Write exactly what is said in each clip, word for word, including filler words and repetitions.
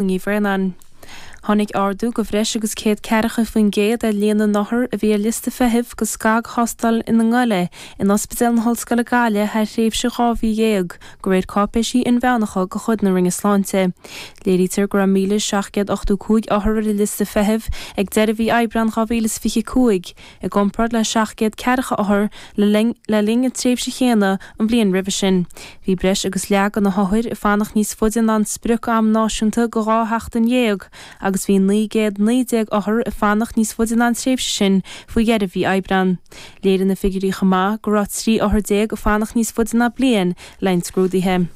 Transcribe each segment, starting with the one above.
Ní Bhraonáin. Tháinig ardú de bhreis agus céad ceathracha faoin gcéad ar líon na n-othar a bhí ar liosta feithimh do scagthástáil ina ngoile in Ospidéal na hOllscoile Gaillimh thar thréimhse dhá mhí dhéag, de réir cáipéisí inmheánacha de chuid na Roinne Sláinte. Léirítear go raibh míle seacht gcéad ochtó cúig othar ar an liosta feithimh ag deireadh mhí Aibreáin dhá mhíle is fiche cúig, i gcomparáid le seacht gcéad ceathracha othar le linn le linn an tréimhse chéanna an bhliain roimhe sin. Bhí breis agus leath de na hothair ag fanacht níos faide ná an sprioc-am náisiúnta de dhá sheachtain dhéag agus bhí naoi gcéad naoi déag othar ag fanacht níos faide ná an tréimhse sin faoi dheireadh mhí Aibreáin. Léirigh na figiúirí chomh maith go raibh trí othar déag ag fanacht níos faide ná bliain le haghaidh scrúdaithe.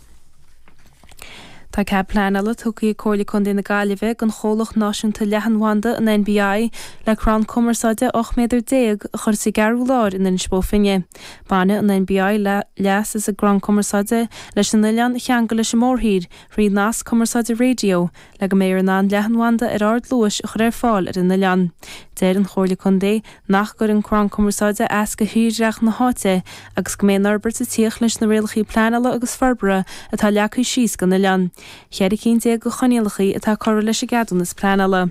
Tá cead pleanála tugtha ag Comhairle Contae na Gaillimhe don chomhlacht náisiúnta leathanbhanda, an NBI, le crann cumarsáide ocht méadar déag a chur sa gCeathrú Láir in Inis Bó Finne. Bainfidh an NBI leas as an gcrann cumarsáide leis an oileán a cheangal leis an mórthír thrí nasc cumarsáide raidió le go mbeifear in ann leathanbhanda ar ardluais a chur ar fáil ar an oileán. Deir an Chomhairle Contae nach gcuireann crann cumarsáide as do thírdhreach na háite agus go mbeidh an fhorbairt ag tíocht leis na rialacha pleanála agus forbartha atá leagtha síos don oileán. Ceithre cinn déag de choinníollacha atá curtha leis an gceadúnas pleanála.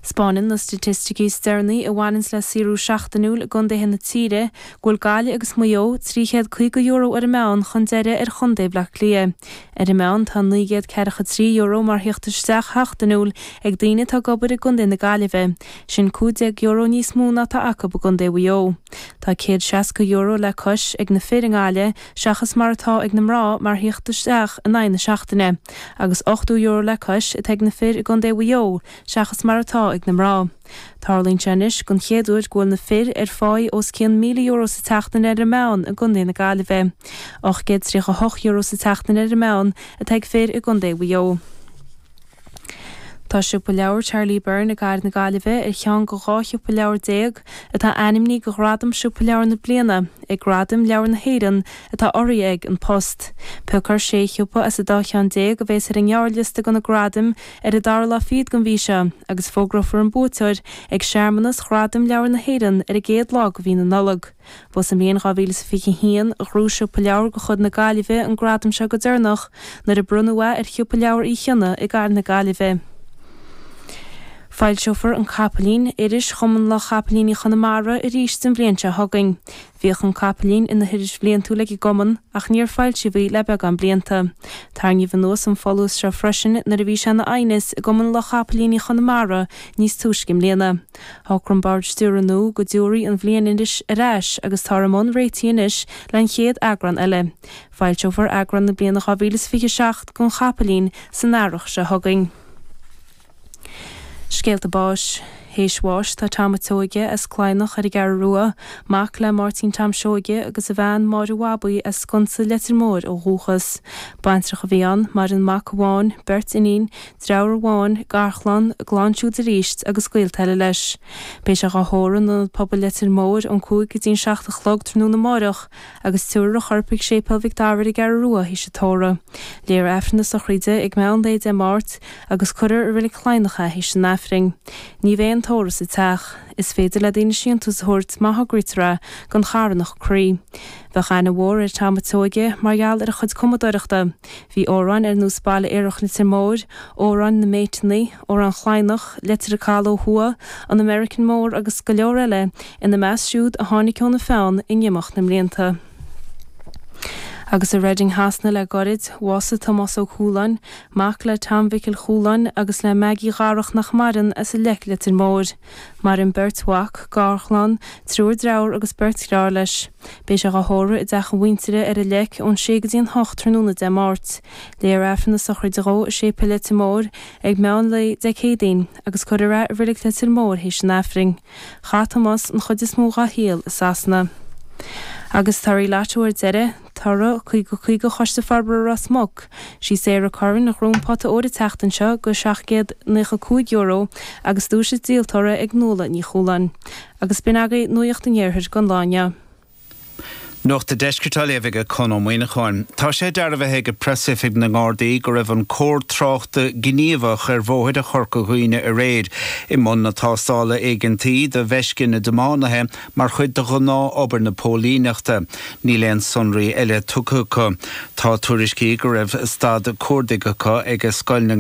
'Spáineann na staitisticí is deireanaí a bhaineanns le saothrú seachtainiúil i gcontaetha na tíre go bhfuil Gaillimh agus Maigh Eo trí chéad caoga euro ar an meán chun deiridh ar chontae Bhaile Átha Cliath. Ar an meán tá naoi gcéad ceathracha trí euro mar theacht isteach sheachtainiúil ag daoine atá ag obair i gcontae na Gaillimhe, sin cúig déag euro níos mó ná atá acu i gcontae Mhaigh Eo. Tá céad seasca euro le cois ag na fir i nGaillimh seachas mar atá ag na mná mar theacht isteach in aghaidh na seachtaine, agus ochtó euro le cois atá ag na fir i gcontae Mhaigh Eo seachas mar atá ag na mná. Tarlaíonn sé anois don chéad uair go bhfuil na fir ar pháí os cionn míle euro sa tseachtain ar an meán i gcontae na Gaillimhe. ocht gcéad tríocha a hocht euro sa tseachtain ar an meán atá ag fir i gcontae Mhaigh Eo. Tá Siopa Leabhar Charlie Byrne i gcathair na Gaillimhe ar cheann de dhá shiopa leabhar déag atá ainmnithe do Ghradam Siopa Leabhar na Bliana ag Gradaim Leabhar na hÉireann atá urraithe ag An Post. Piocfar sé shiopa as an dá cheann déag a bheas ar an ngearrliosta do na gradaim ar an dara lá fichead den mhí seo agus fógrófar an buaiteoir ag searmanas Ghradaim Leabhar na hÉireann ar an gcéad lá de mhí na Nollag. Ba sa mbliain dhá mhíle is fiche a haon a ghnóthaigh Siopa Leabhar de chuid na Gaillimhe an gradam seo go deireanach nuair a bronnadh é ar Shiopa Leabhar Uí Chionnaith i gcathair na Gaillimhe. Foilseofar An Capaillín, iris Chumann Luth-Chapaillíní Chonamara, arís an bhliain seo chugainn. Bhíodh An Capaillín ina hiris bhliantúil ag an gcumann ach níor foilsíodh í le beagán blianta. Tarraingíodh anuas an folús seo freisin nuair a bhí sé ina aighneas i gCumann Luth-Chapaillíní Chonamara níos túisce i mbliana. Shocraigh an Bord Stiúrtha nua go dtabharfaí an bhliainiris ar ais agus táthar i mbun réitigh anois leis an chéad eagrán eile. Foilseofar eagrán na bliana dhá mhíle is fiche a seacht den Chapaillín san earrach seo chugainn. Scéalta báis. Théis bháis tá Tom a' tSeoige as Cladhnach ar an gCeathrú Rua, mac le Máirtín Tom Seoige agus a bhean Máire Bhabaí as Sconsa Leitir Móir ó dhúchas. Baintreach a bhí ann, maireann mac amháin, beirt iníon, deartháir amháin, garchlann, a gclann siúd arís agus gaolta eile leis. Beidh sé dhá thórramh in Ionad Pobail Leitir Móir ón cúig go dtí an seacht a chlog tráthnóna amáireach agus tabharfar a chorp chuig Séipéal Mhic Dara ar an gCeathrú Rua théis an tórraimh. Léifear Aifreann na sochraide ag meán lae Dé Máirt agus cuirfear i Reilig Chladhnach é théis an Aifrinn. Ní bheidh an tórramh sa teach. Is féidir le daoine síntiús a thabhairt má thograítear é don charthanacht Croí. Bheadh aithne mhór ar Tom a' tSeoige mar gheall ar a chuid cumadóireachta. Bhí amhráin ar nós Baile Aerach Leitir Móir, Amhrán na mBéiteanna, Amhrán Chladhnach, Leitir an Cathail ó Thuaidh, An American Mór agus go leor eile ina measc siúd a tháinig óna pheann in imeacht na mblianta. Agus i Reading Shasana le gairid, bhásaigh Tomás Ó Cualáin, mac le Tom Mhicil Chualáin agus le Maggie Dharach nach maireann as an Leic Leitir Móir. Maireann beirt mhac, garchlann, triúr dearthár agus beirt dheartháir leis. Beidh sé dhá thórramh i dteach a mhuintire ar an Leic ón sé go dtí an hocht tráthnóna Dé Máirt. Léifear Aifreann na sochraide dhó i Séipéal Leitir Móir ag meán lae Dé Céadaoin agus cuirfear é i Reilig Leitir Móir théis an Aifrinn. Chaith Tomás an chuid is mó dhá shaol i Sasana. Agus torthaí Lotto ar deireadh, toradh caoga caoga Choiste Forbartha Ros Muc, sí Sarah Curran a ghnóthaigh an pota óir an tseachtain seo go seacht gcéad naocha cúig euro agus duais an díoltóra ag Nuala Ní Chualáin. Agus b'in agaibh Nuacht an Iarthair don lá inniu. Nuacht an Deiscirt á léamh ag Conn Ó Muíneacháin. Tá sé dearbhaithe ag preasoifig na nGardaí go raibh an cór tráchta gníomhach ar bhóithre Chorca Dhuibhne aréir i mbun na tástála éigeantaí do mheisce na dtiománaithe mar chuid de ghnáthobair na póilíneachta. Níl aon sonraí eile tugtha acu. Tá tuairiscí go raibh stad cuardaigh acu ag Scoil na